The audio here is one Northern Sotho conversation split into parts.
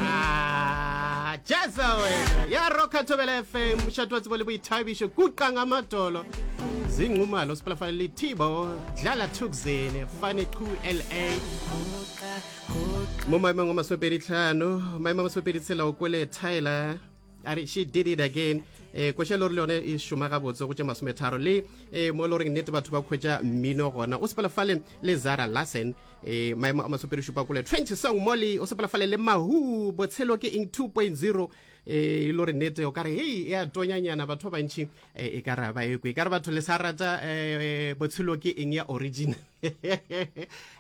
Ah, jaza wena ya roka thobela fm mošate wa tsebo le boithabišo kuqang a matolo zinqumalo sipalafale le thibo dlala thukzene fane qu la mo maemong a masomepedi tlhano maemo a masomepedi tshela o kwele tyler a re she did it again eh koša le gore le yone e šoma gabotse go tše masometharo le eh mo e le goreng nnete batho ba khwetša mmino gona o sepela fale le zara larsen eh maemo a masomepedi šupa kole 20 song molly o sepela fale le mahu botshelo ke eng 2.0 eh e le gore nnete o ka re hei e a tonyanyana batho ba bantši eh, e ka re ba ekwe e ka re batho le sa rata eh, botshelo ke eng ya original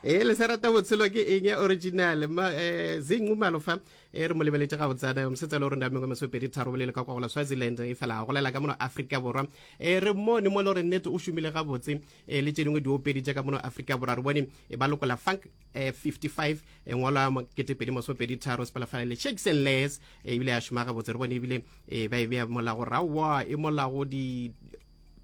e le sa rata botshelo ke eng ya original ma eh, zinqumalo fa e re mo lebeletše gabotsana mosetsana o re ndamengwe masopedi tharo bolele ka kwa gola swaziland e fela a golela ka mono afrika borwa e re mone mo le gore nnete o šomile gabotse e le tše dingwe diopedi tša ka mono afrika borwa re bone e ba lokola funk 55 e ngwalwa ketepedi masopedi tharo sepalafala le shakes and les ebile ya šoma gabotse re bone ebile e ba e bea molago rawa e molago di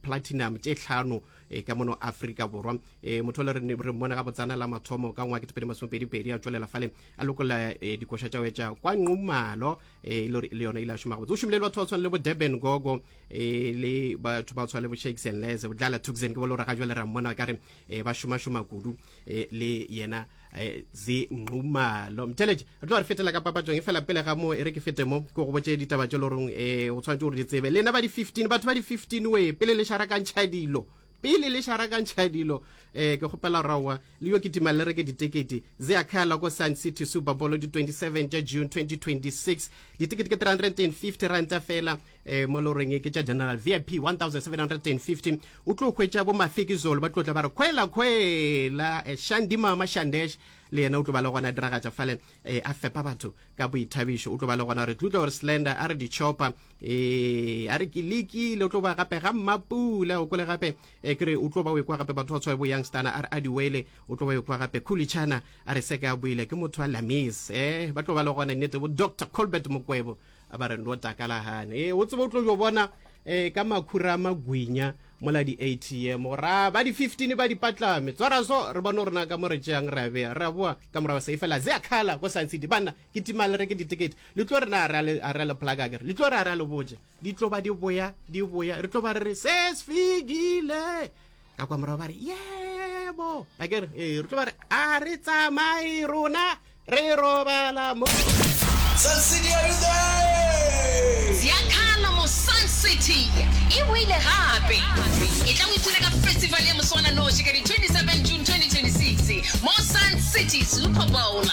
platinum tše tlhano e ka mono Afrika Borwa e motho le re re mmone ga botsana la mathomo ka ngwa ke tpedi masomepedi pedi a tšwelela fale a lokolla e, dikoša tša wetša kwa nqumalo e le le yona ile a šoma gabotse o šomile le batho ba tshwana le bo Durban Gogo e le batho ba tshwana le bo Shakes and Les bo Dlala Tuxen ke bo le gore ga jwale ra mmona ka re e, ba šoma šoma kudu e, le yena e, zinqumalo mtheletše re tlo re fetela ka papatšong e fela pele ga mo e re ke fete mo ke go botše ditaba tše loreng e o tshwanetse gore di tsebe lena ba di 15 batho ba di 15 we pele le šarakantšha dilo pele le šarakantšha dilo um ke kgopela raowa le yo kitima le reke ditekete ze a khala ko sun city super bowl di 27 tša june 2026 ditekete ke 350 ranta fela um mo le goreng ke tša general vip 1750 o tlo hwetša bo mafikizolo ba tlo tla ba re khwela khwela eh, shandi mama shandesh le yena o tlo ba le gona a diragatša fale eh, a fepa batho ka boithabišo o tlo ba le gona re tlo utlwa gore slender a re di-chopper eh, a re ke lekile o tlo ba gape ga mmapula o kwele gape eh, ke re o tlo ba o ekwa gape batho ba tshwae bo youngstana a re a diwele o tlo ba o ekwa gape khulichana a re seke a buile ke motho wa lamis eh, ba tlo ba le gona nnete bo dr colbert mokwebo a ba re ndo takalagane e o tsebe o tlo jo bona um ka makhura a magwinya mola di-atm gore ba di-15 ba di patlame tswara so re bone gore na ka mo re tšeang re a bea re a boa ka morago sa efela ze a khala ko Sun City banna ke tima le reke ditekete le tlo re na a re a le plug akere le tlo re a re a le botse di tlo ba di boya di boya re tlo ba re re se sefigile ka kwa morago ba re yebo akere ee re tlo ba re a re tsamaye rona re robala mo Sun City, are you there? Ziakhala mo Sun City e boile gape. E tla o ipshine ka festival ya moswananoši ka di 27 June 2026 mo Sun City Super Bowl.